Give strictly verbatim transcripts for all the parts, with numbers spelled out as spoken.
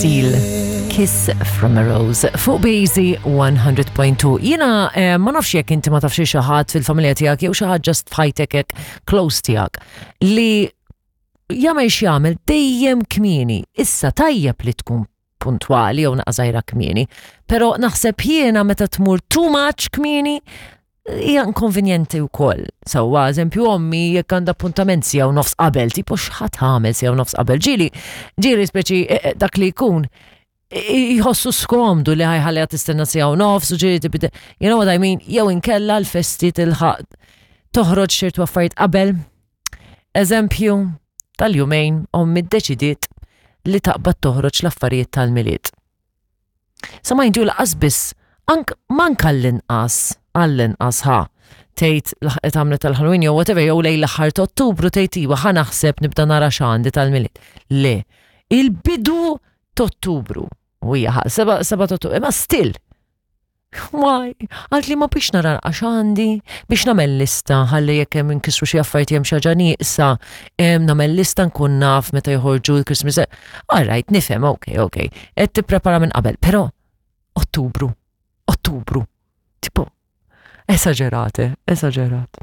Seal, Kiss from a Rose, fuq Bazy one hundred point two. Jiena eh, ma nafx jekk inti ma tafx xi ħadd fil-familja tiegħek jew xi ħadd just f'ħajtek hekk close tiegħek li jagħmel x'jagħmel dejjem kmieni. Issa tajjeb li tkun puntwali jew naqra żgħira kmieni, però naħseb jiena meta tmur too much kmieni hija inkonvenjenti wkoll. Sewwa, eżempju, ommi jekk għandha appuntament siegħa u nofs qabel, tipo x'ħa tagħmel siegħa u nofs qabel? Ġieli, ġieli speċi eh, eh, dak li jkun jħossu skomdu li ħa jħalliha tistenna siegħa u nofs u ġieli tibda, you know what I mean, jew inkella l-festi tilħaq toħroġ ċertu affarijiet qabel. Eżempju, tal-jumejn ommi ddeċidiet li taqbad toħroġ l-affarijiet tal-Milied. Sa ma jintu lanqas biss, ank manka l-inqas, għall-inqas ħa, tgħid laħqet għamlet tal-Halloween jew whatever, jew lejn l-aħħar ta' Ottubru tgħid iwa ħa naħseb nibda nara x'għandi tal-Milied. Le, il-bidu ta' Ottubru. U hija ħa, seba' seba' ta' Ottubru, imma still. Why? Għalt li ma biex nara għax għandi, biex nagħmel lista, ħalli jekk hemm inkisru xi affarijiet hemm xi ħaġa nieqsa, em, nagħmel lista nkun naf meta joħorġu l-Christmas. All right, nifhem, ok, ok. Qed tipprepara minn qabel, però Ottubru, Ottubru. Tipo, esagerate, esagerat.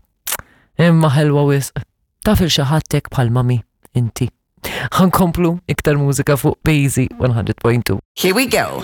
Imma ħelwa wisq. Taf lil xi ħadd hekk bħal mami, inti? Ħa nkomplu iktar mużika fuq Bazy one hundred point two. Here we go.